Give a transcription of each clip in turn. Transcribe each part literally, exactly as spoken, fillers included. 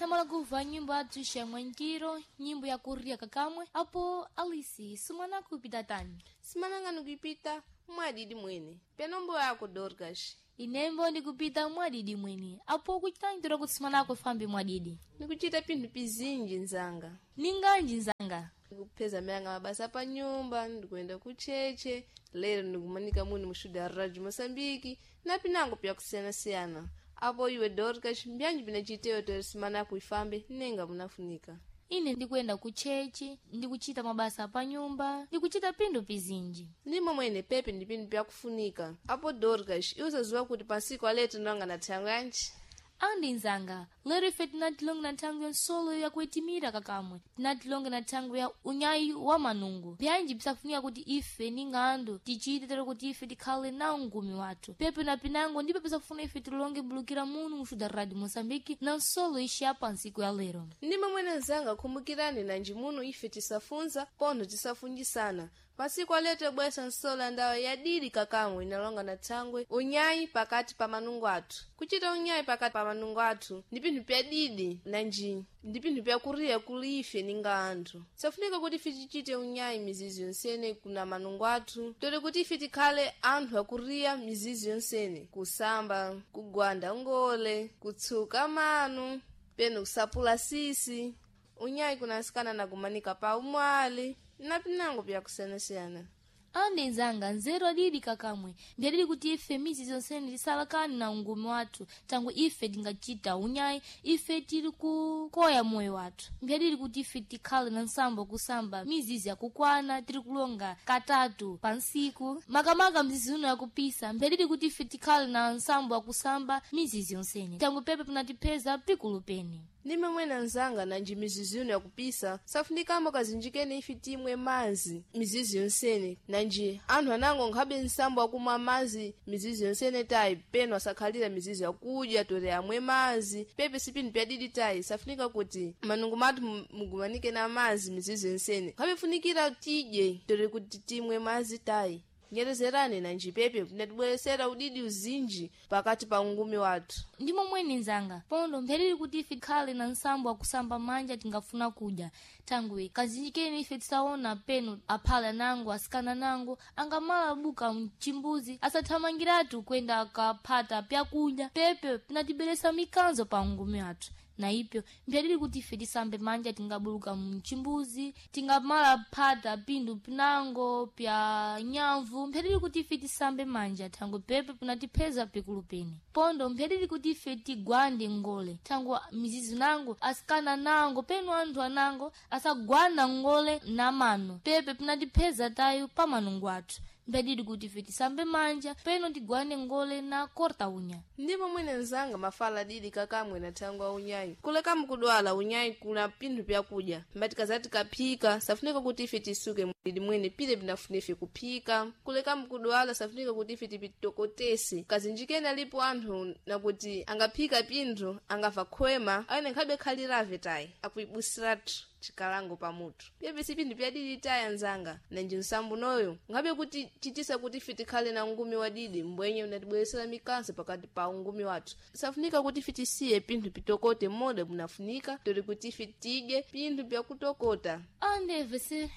Tinamala kuva nyimbo athu xamwankiro, nyimbo ya kuria kakamwe. Apo Alice, sumana kupita tani? Simananga nikupita mwadidi mwene. Penombo yako Dorcas. Inembo ndikupita mwadidi mwene. Apo kuchitangira kuti simanako fambi mwadidi. Nikuchita pinthu pizinji nzanga. Ninganji nzanga? Ndikupeza mayanga mabasa pa nyumba, ndikuyenda kucheche, lero ndikumanika muni mushuda ya Radio Moçambique, na pinango pyakusiyana-siyana. Apo iwe Dorcas, mbyanji pinachiteyo tori simanako ifambe nenga munafunika. Ine ndikuyenda kuchechi, ndikuchita mabasa pa nyumba, ndikuchita pinthu pizinji. Ndimo mwene pepe ndi pinthu pyakufunika. Apo Dorcas, iwe usaziwa kuti pansiku aletu ndanga na thango yanji? Andi nzanga, lero ife tinatilonga na nthango ya nsolo yakuitimira kakamwe, tinatilonga na nthango ya unyayi wa manungo. Byanji bzisafunika kuti ife ning'andu tichite tero kuti ife tikhale na ungumi wathu. Pepe na pinango ndipo pisafuna ife tilonge bulukira munu muxuda Radio Moçambique na nsolo ixi ya pansiku ya lero. Ndimo mwene nzanga khumbukirani nanji muno ife tisafunza pontho tisafunjisana. Pasiku aletu bwesa nsola ya ndawa yadidi kakamwe inalonga na thangwe unyayi pakati pa manungo athu. Kuchita unyayi pakati pa manungo athu ndi pinthu pyadidi nanji ndi pinthu pyakuriya kuli ife ninga anthu. Safunika kuti ife tichite unyayi mizizi yonsene kuna manungo athu, tole kuti ife tikhale anthu akuriya mizizi yonsene, kusamba, kugwanda ngole, kutsuka manu, penu kusapula sisi. Unyayi kunasikana na kumanika pa umwali na pinango pyakusiyanasiyana. Andi nzanga, nzeru adidi kakamwe, mbyadidi kuti ife mizi zonsene tisalakani na ungumi wathu, tangu ife tingachita unyayi, ife tili kukoya moyo wathu. Mbyadidi kuti ife tikhale na nsambo kusamba mizizi yakukwana, tili kulonga katatu pa nsiku, makamaka mzizi uno yakupisa. Mbyadidi kuti ife tikhale na nsambo yakusamba mizizi yonsene, tangu pepe pinatipeza pikulu pene. Ndime mwene nzanga nanji mizizi ino yakupisa safunikamo kazinjikene ife timwe mazi mizizi yonsene nanji anthu anango nkhabe nsambo akumwa mazi mizizi yonsene tayi peno asakhalira mizizi yakudya tore amwe mazi pepe sipinthu pyadidi tayi safunika kuti manungo mathu mu- mugumanike na mazi mizizi yonsene nkhabe funikira tidye tore kuti timwe mazi tayi. Nyerezerani nanji pepe pinatibweresera udidi uzinji pakati pa ungumi wathu. Ndimo mwene nzanga, pondo mphereri kuti ife tikhale na nsambo akusamba manja tingafuna kudya. Thangwe kazinjikeni ife tisaona peno aphala nango asikana nango angamala buka mchimbuzi asathamangiratu kwenda akaphata pyakudya pepe pinatiberesa mikanzo pa ungumi wathu. Na ipyo mbyadidi kuti ife tisambe manja tingabuluka mchimbuzi, tingamala phata pinthu pinango pya nyamvu. Mphyadidi kuti ife tisambe manja thangwe pepe pinatipheza pikulu pene. Pondo mphyadidi kuti ife tigwande ngole thangwe mizizi nango asikana nango penu anthu anango asagwanda ngole na mano pepe pinatipheza tayo pa manungo athu. Mphyadidi kuti ife tisambe manja peno tigwande ngole na korta unya. Ndimo mwene nzanga mafala adidi kakamwe na thango a unyayi. Kuleka mukudwala unyayi kuna pinthu pyakudya. Mbati kazati kaphika, safunika kuti ife tisuke mdidi mwene pile pinafuna ife kuphika. Kuleka mukudwala safunika kuti ife tipitokotese. Kazinjikeni alipo anthu nakuti angaphika pinthu angafa khwema, aene nkhabe khalirave tayi, akuibusiratu chikalango pamutu. Pepe si pinthu pyadidi tayi anzanga, nanji nsambu noyo ngabe kuti chitisa kuti ife tikhale na ungumi wadidi mbwenye unatibweresera mikanso pakati pa ungumi wathu. Safunika kuti ife tisiye pinthu pitokote moda munafunika toli kuti ife tidye pinthu pyakutokota. Andeve se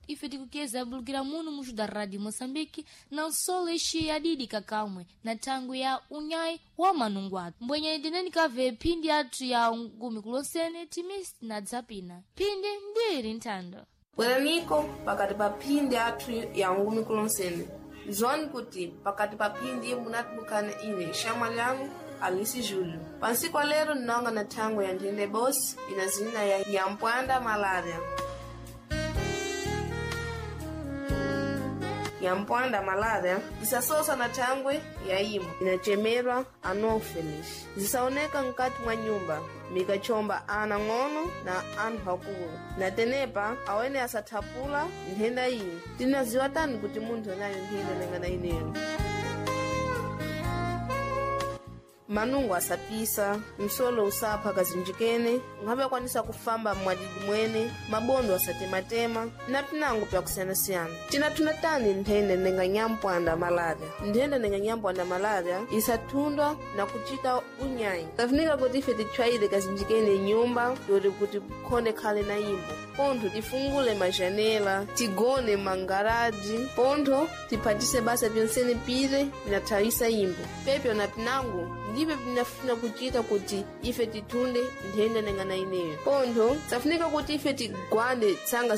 ife tikukeza bulukira munu muxuda Radio Moçambique na nsolo ixi yadidi kakamwe na thango ya unyayi wa manungo athu. Mbwenye tineni kave phindi athu ya ungumi kulonsene timisi na dzapina. Phindi ndiri nthando. Bweraniko pakati pa phindi athu ya ungumi kulonsene. Zwani kuti pakati pa phindi munatibukana ine xamwa lyangu Alice Júlio. Pansiku lero ndinonga na thango ya nthende bosi ina zina ya Nyampwanda malaria. Nyampwanda malaria isasosa na thangwe ya imo inachemerwa anopheles zisaoneka mkati mwa nyumba mikachomba ana ng'ono na anthu akulu na tenepa awene asathapula nthenda iyi. Tinaziwa tani kuti munthu anayo nthenda nangana ineyo. Manungo asapisa, msolo usapha kazinjikene, nkhabe kwanisa kufamba mwadidi mwene, mabondo asatematema na pinango pyakusiyanasiyana. Tinathunda tani nthenda nenga nyampwanda malaria. Nthenda nenga nyampwanda malaria isathundwa na kuchita unyayi. Tafunika kuti ife titchwayire kazinjikene nyumba yoti kuti khonde khale na imbo. Pontho tifungule majanela, tigone mangaraji, pontho tiphatise basa pyonsene pire pinathawisa imbo. Pepyo na pinango ndipyo pinafuna kuchita kuti ife tithunde nthenda nengana ineyo. Pontho safunika kuti ife tigwande tsanga.